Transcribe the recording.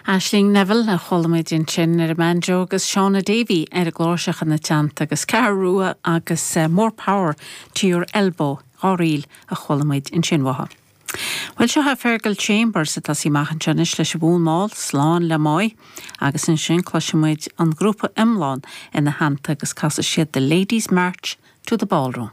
Aisling Neville a chuala muid ansin ar an mbanjo agus Shauna Davey ar an gcláirseach ina teannta agus Ceathrú Rua agus More Power to Your Elbow, 2 ríl a chuala muid ansin uathu. Bhuel, seo é Fergal Chambers ag tosaí amach anseo anois leis an bhfonn mall, Slán le Máigh, agus ansin cloisfidh muid an grúpa iomlán ina theannta agus casfaidh siad The Ladies March to the Ballroom.